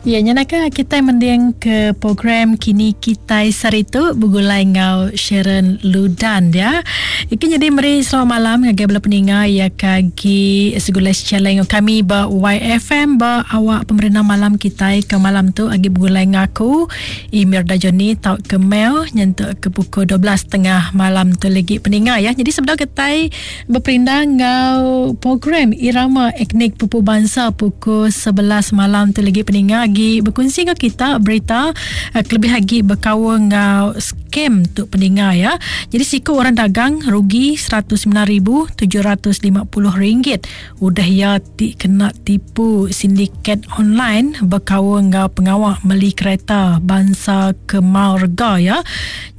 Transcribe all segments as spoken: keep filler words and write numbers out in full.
Ya, nyanaka kita mending ke program Kini Kitai Saritu begulai ngau Sharon Ludan ya. Iki jadi meri selamat malam ngagai bala peninga ya kagi segulai challenge kami ba Y F M ba awak pemerintah malam kita ke malam tu agi begulai ngaku Emir Dajoni tau ke mail nyentuk ke pukul dua belas tiga puluh malam tu lagi peninga ya. Jadi sebelum kita berperindang ngau program Irama Etnik Pupu Bangsa pukul sebelas malam tu lagi peninga lagi berkongsi dengan kita berita uh, kelebih lagi berkawan dengan scam tu pendengar ya. Jadi siku orang dagang rugi seratus sembilan ribu tujuh ratus lima puluh ringgit udah ya ti kena tipu sindiket online berkawan dengan pengawak beli kereta bangsa Kemal Rega ya.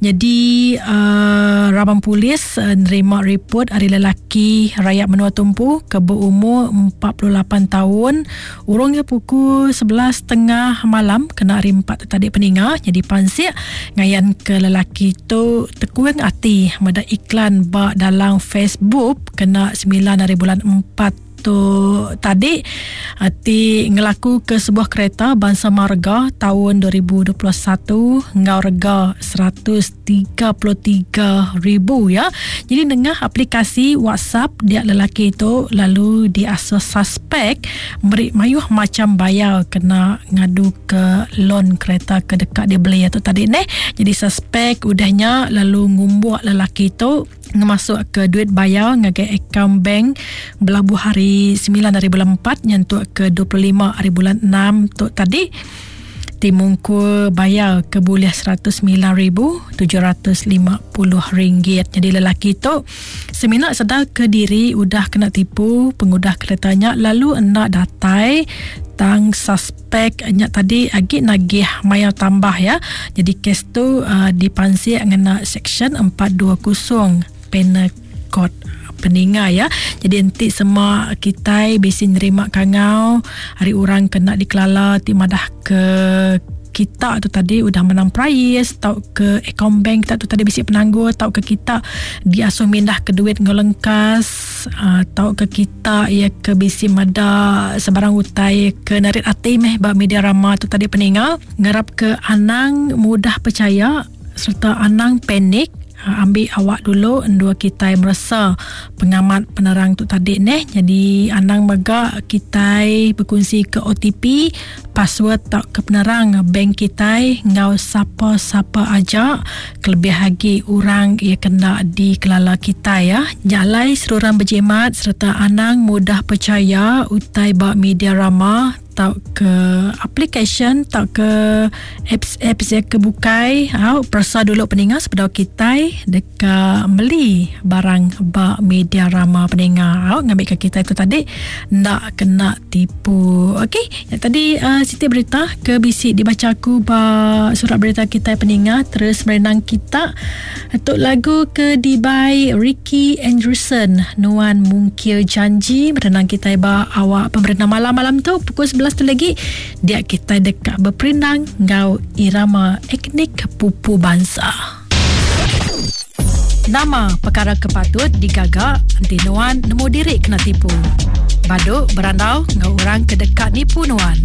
Jadi uh, rabang polis uh, nerima report hari lelaki rakyat menua tumpu ke berumur empat puluh lapan tahun urungnya pukul sebelas tengah malam kena hari empat tadi peninga. Jadi pansik ngayan ke lelaki tu tekuang hati meda iklan ba dalam Facebook kena sembilan hari bulan empat tu tadi hati ngelaku ke sebuah kereta bangsa marga tahun dua ribu dua puluh satu ngau rega seratus tiga puluh tiga ribu ya. Jadi nengah aplikasi WhatsApp dia lelaki itu lalu diasuh suspek beri mayuh macam bayar kena ngadu ke loan kereta ke dekat dia beli itu tadi neh. Jadi suspek udahnya lalu ngumbuak lelaki itu ngemasuk ke duit bayar ngagai akaun bank belabuh hari sembilan hari bulan empat nyentuk ke dua puluh lima hari bulan enam tu tadi timungku bayar ke boleh seratus sembilan ribu tujuh ratus lima puluh ringgit. Jadi lelaki tu semina sedar ke diri udah kena tipu pengudah keretanya lalu hendak datai tang suspek nyak tadi agi nagih maya tambah ya. Jadi kes tu uh, dipansik ngena section empat dua kosong Penal Code peninga ya. Jadi enti semua kita bisi nerima kangau hari orang kena dikelala ti madah ke kita tu tadi udah menang prize tau ke akaun bank kita tu tadi bisi penangguh tau ke kita diasuh mindah ke duit ngolengkas uh, tau ke kita ya ke bisi mada sebarang utai ke narit ati meh ba media rama tu tadi peninga ngarap ke anang mudah percaya serta anang panik. Ambil awak dulu endua kita merasa pengamat penerang tu tadi neh. Jadi anang mega kita berkongsi ke O T P, password tak ke penerang bank kita ngau siapa-siapa aja kelebih lagi orang ia kena dikelala kita ya. Jalai seruran berjimat serta anang mudah percaya utai ba media rama tau ke application tau ke apps-apps yang kebukai. Au perasa dulu peninga sebelum kita dekat beli barang ba media rama peninga. Au ngambil ke kita itu tadi ndak kena tipu. Okey, yang tadi uh, siti berita ke bisi dibaca aku ba surat berita kita peninga terus merenang kita untuk lagu ke dibai Ricky Anderson Nuan Mungkir Janji merenang kita ba awak pemerintah malam-malam tu pukul sebelas tu lagi dia kita dekat berperindang ngau irama etnik pupu bangsa. Nama perkara kepatut digagak anti nuan nemu diri kena tipu. Baduk berandau ngau orang ke dekat nipu nuan.